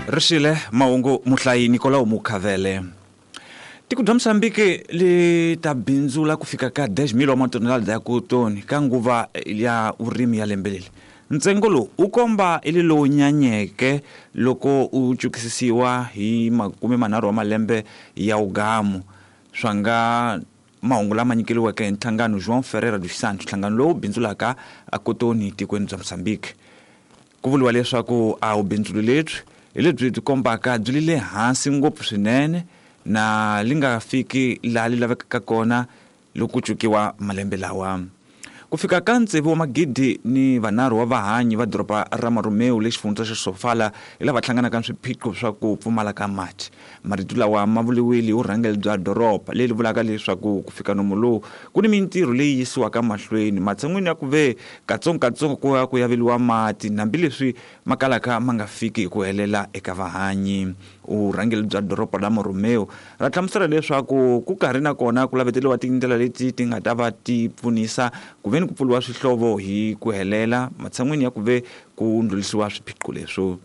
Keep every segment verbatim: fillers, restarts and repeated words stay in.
Rixile mahungu muhlayi Nicolau Mukhavele. Tiko bya Mozambique li ta bindzula ku fika ka dez mil wa matonelada ya kotoni ka nguva ya vurimi ya lembe leri. Ntsengo lowu wu komba i lowu nyanyeke loko u cukisisiwa hi makume manharhu wa malembe ya ugamu. Swa nga mahungu lama nyikeriweke hi nhlangano João Ferreira dos Santos, nhlangano lowu bindzulaka a kotoni tikweni bya Mozambique. Ku vuriwa leswaku a wu bindzulo lebyi hi lebyi byi kombaka byi le hansi ngopfu swinene na li nga fiki laha li lavekaka kona loko ku cukiwa malembe lawa. Ku fika ka tsevu wa magidi ni vanharhu wa vahanyi va doroba ra Marumeu le xifundza xa Sofala hi lava hlanganaka na swiphiqo swa ku pfumala ka mati. Marito lawa ma vuriwile hi vurhangeri bya doroba leri vulaka leswaku ku fika nomu lowu ku ni mintirho leyi yisiwaka mahlweni matshan'wini ya ku ve katsongokatsongo ku ya ku yaveliwa mati hambileswi ma kalaka ma nga fiki hi ku helela eka vahanyi. Vurhangeri bya doroba ra Marumeu ra hlamusela leswaku ku karhi na kona ku laveteriwa tindlela leti ti nga ta va ti pfunisa ku ve ni ku pfuriwa swihlovo hi ku helela matshan'wini ya ku ve ku ndlhulisiwa swiphiqo leswo.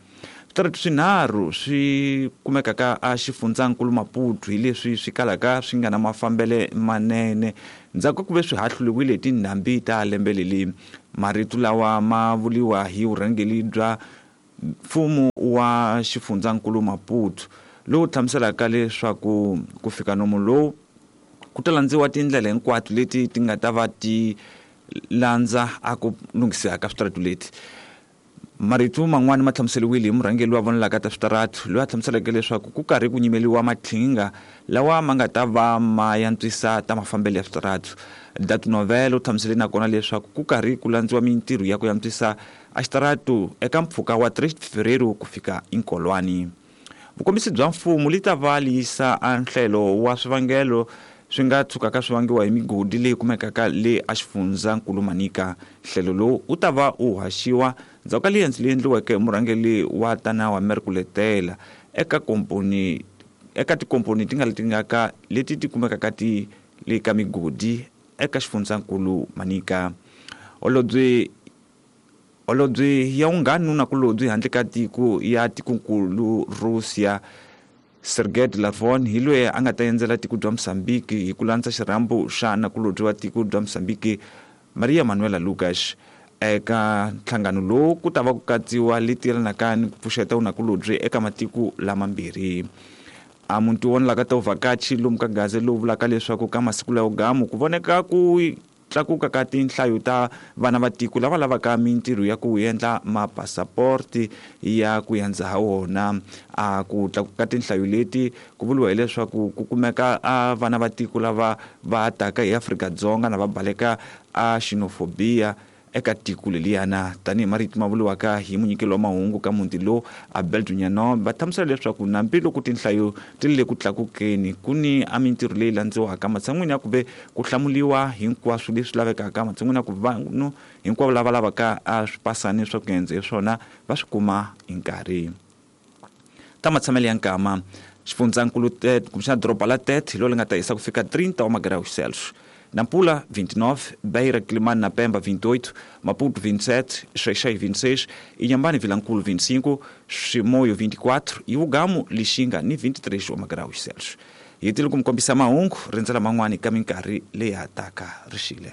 Switaratu swinharhu swi kumekaka a xifundzankulu Maputo hi leswi swi kalaka swi nga na mafambele manene ndzhaku ka ku ve swi hahluliwile hi tindhambi ta lembe leri. Marito lawa ma vuriwa hi vurhangeri bya mfumo wa xifundzankulu Maputo lowu hlamuselaka leswaku ku fika nomu lowu ku ta landziwa tindlela hinkwato leti ti nga ta va ti landza a ku lunghisiwa ka switaratu leti. Marito man'wani ma hlamuseriwile hi murhangeri wa vonelaka ta switaratu loyi a hlamuseleke leswaku ku karhi ku nyimeliwa maqhinga lawa ma nga ta va ma yantswisa ta mafambelo ya switaratu. Datu Novel u hlamusele nakona leswaku ku karhi ku landziwa mintirho ya ku yantswisa a xitaratu eka mpfhuka wa tres de Fevereiro ku fika Inkolwani. Vukombisi bya mfumo li ta va li yisa a nhlelo wa swivangelo swi nga tshukaka swi vangiwa hi migodi leyi kumekaka le a xifundzankulu Manica. Nhlelo lowu wu ta va wu haxiwa ndzhaku ka liendzo leyi endliweke hi murhangeri wa tana wa Merkuletela eka komponi eka tikomponi ti nga leti nga ka leti ti kumekaka ti le ka migodi eka xifundzankulu Manica. Holobye Holobye ya vunghana na kulobye handle ka tiko ya tikonkulu Russia Sergei Lavrov hi loyi a nga ta endzela tiko bya Mozambique hi ku landza xirhambo xa nakulobye wa tiko bya Mozambique Maria Manuela Lucas. Eka nhlangano lowu ku ta va ku katsiwa leti yelanaka ni ku pfuxeta vunakulobye eka matiko lamambirhi. A muti wo vonelaka ta vuvhakachi lomu ka Gaza lowu vulaka leswaku ka masiku lawa gamu ku voneka ku tlakuka ka tinhlayo ta vana va tiko lava lavaka mintirho ya ku endla mapasaporti ya ku yandza ha wona. A ku tlakuka tinhlayo leti ku vuriwa hileswaku ku kumeka a vana va tiko lava va taka hi Afrika-Dzonga na va baleka a xenophobia eka tiko leliyana. Tanihi marito ma vuriwaka hi munyikeli wa mahungu ka muti lowu Abel Dunyano va hlamusela leswaku hambiloko tinhlayo ti le ku tlakukeni ku ni a mintirho leyi landziwaka matshan'wini ya ku ve ku hlamuriwa hinkwaswo leswi lavekaka matshan'wini ya ku vanhu hinkwavo lava lavaka a swipasani swa ku endza hi swona va swi kuma hi nkarhi. Ta matshamelo ya nkama xifundzankulu Tete kumbexana doroba la Tete hi lolo nga ta hisa ku fika trinta wa magraus Celsius. Nampula vinte e nove, Beira, Quelimane na Pemba vinte e oito, Maputo vinte e sete, Xai-Xai vinte e seis, Inhambane Vilankulo vinte e cinco, Chimoio vinte e quatro e Ugamo, Lixinga ni vinte e três graus Celsius. Hi tile ku mi kombisa mahungu rindzela man'wani ka minkarhi leyi hataka rixile.